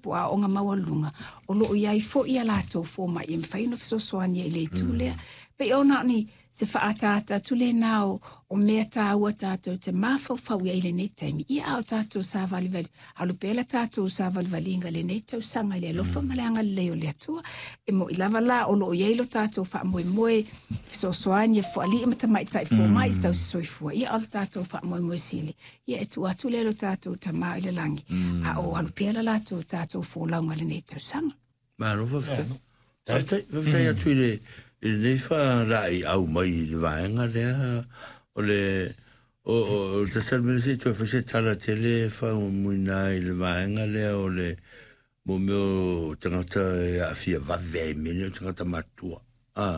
po o aoaoga maualuluga, o lo o i ai foi a latou fomai e mafai ona fesoasoani ai i le itu lea. Pei ona o ni se faaataata atu lena o, o mea taua tatou te mafaufau i ai i lenei taimi. Ia a o tatou savalivali, alu pea le tatou savalivaliga i lenei tausaga i le alofa ma le agalelei o le Atua. E mo'i lava la o lo o i ai lo tatou faamoemoe e fesoasoani e alii ma tamaitai fomai i tausi soifua. Ia a o le tatou faamoemoe sili, ia e tuu atu lea i lo tatou Tama i le lagi, a o alu pea le latou tatou folauga i lenei tausaga. Malo faafetai. Faafetai, faafetai atu i le i lenei faalaeiau mai i le vaega lea o le o o o tasi lava le mea se i toe fai se tala tele e faamuamuina ai i le vaega lea o le mo mea o tagata e aafia vave ai i mea nei o tagata matutua. A,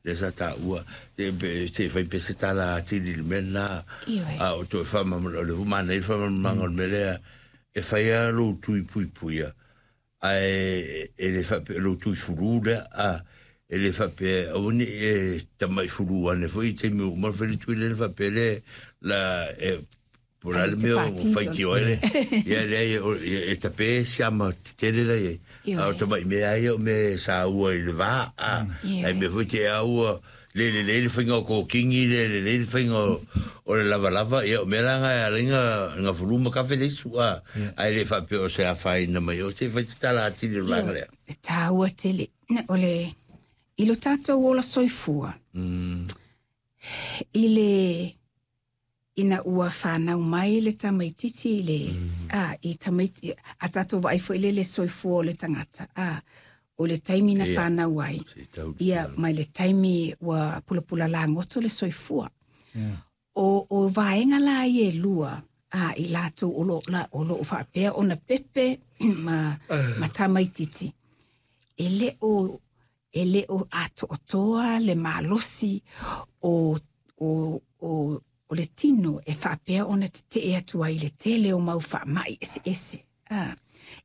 lea sa taua, se se i fai pea se tala atili i le mea lena. Ioe. A o toe faamalamalama, o lea foi manaia le faamalamalamaga o le mea lea, e fai lava lou tui puipuia, ae e le faapea o lou tui fulu lea, a, e le faapea aua ne i e tamai fulu ane foi i taimi uma ona fai le tui lea ona faapea lea la e po o le a le mea o faitio ai le, ia leai e tape siama tetele la i ai. A o tamai mea lava ia o mea e saua i le va, a, ae mea foi te au ua le lelei le faiga o kokini, le lelei le faiga o le lavalava, ia o mea la na e ala ai na fulu ma kafe le isu, a, ae le faapea o se afaina mai o, se i fai se tala atili o le vaega lea. E taua tele o le i lo tatou ola soifua i le ina ua fanau mai le tamaitiiti i le, a, i tamaiti, a tatou vaai foi lea i le soifua o le tagata, a, o le taimi na fanau ai, ia, mai le taimi ua pulapula lagoto le soifua. O, o vaega la ia e lua, a, i latou o lo, la, o lo o faapea ona pepe ma, ma tamaitiiti, e le o, e le o atoatoa le malosi o, o, o, o le tino e faapea ona tetee atu ai i le tele o mau faamai eseese. A,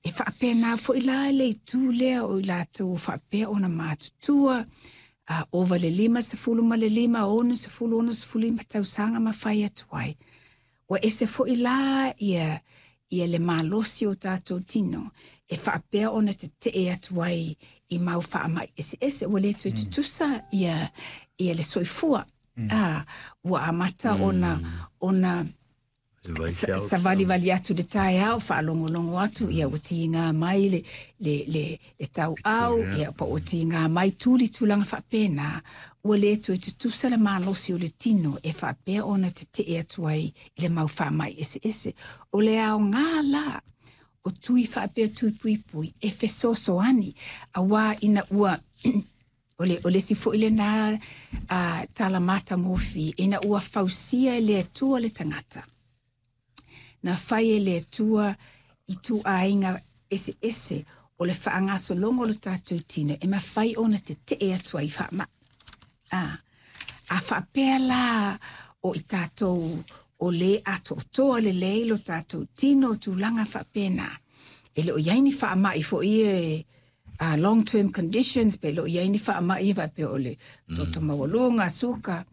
e faapena foi la le itu lea o i latou o faapea ona matutua, a, ova le 55, 60, 65 tausaga ma fai atu ai. Ua ese foi la ia ia le malosi o tatou tino e faapea ona tetee atu ai i mau faamai eseese. Ua le toe tutusa ia ia le soifua. A, ua amata ona ona savalivali atu i le taeao, faalogologo atu, ia ua tiga mai le, le, le, le tauau, ia po ua tiga mai tuli tulaga faapena, ua le toe tutusa le malosi o le tino e faapea ona tetee atu ai i le mau faamai eseese. O le aoga la o tui faapea tui puipui e fesoasoani, auā ina ua o le, o le isi foi lena a, tala matagofie, ina ua fausia e le Atua le tagata, na fai e le Atua ituaiga eseese o le faagasologa o le tatou tino e mafai ona tetee atu ai i faamai. A, a faapea la o i tatou o lē atoatoa lelei lo tatou tino tulaga faapena, e le o i ai ni faamai foi ia e long term conditions, pe le o i ai ni faamai ia faapea o le toto maualuga, suka.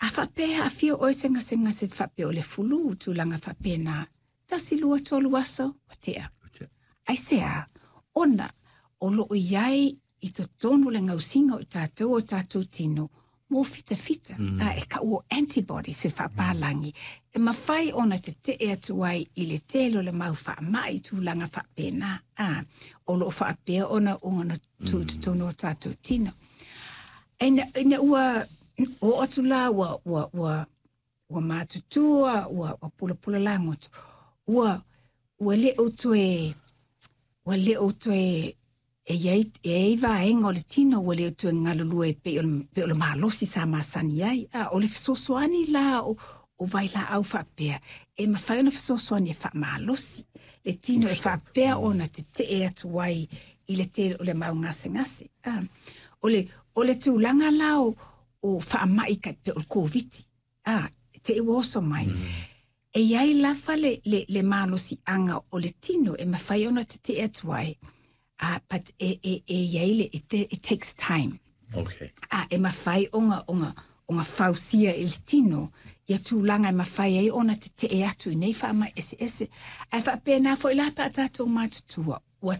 A faapea e aafia oe se gasegase faapea o le fulu, tulaga faapena, 1, 2, 3 aso, ua tea. Aisea? Ona o lo o i ai i totonu o le gausiga o i tatou o tatou tino mō fitafita, a e kau o antibodies e faapālagi, e mafai ona tetee atu ai i le tele o le mau faamai i tulaga faapena, a, o lo o faapea ona ona tū i totonu o tatou tino. Ina, ina ua oo atu la ua, ua, ua, ua matutua, ua, ua pulapula lagoto, ua, ua le o toe, ua le o toe e i ai, e i ai vaega o le tino ua le o toe galulue e pei o le, pei o le malosi sa masani ai. A, o le fesoasoani la o, o vailaau faapea, e mafai ona fesoasoani e faamalosi le tino e faapea ona tetee atu ai i le tele o le mau gasegase. A, o le, o le tulaga la o, o faamai kai pei o le Koviti, a, te i ua oso mai. E i ai lava le, le, le malosiaga o le tino e mafai ona tetee atu ai, a, but e, e, e i ai le, it, it takes time. Okay. A, e mafai ona, ona, ona fausia i le tino ia tulaga e mafai ai ona tetee atu i nei faamai eseese. Ae faapena foi la pe a tatou matutua.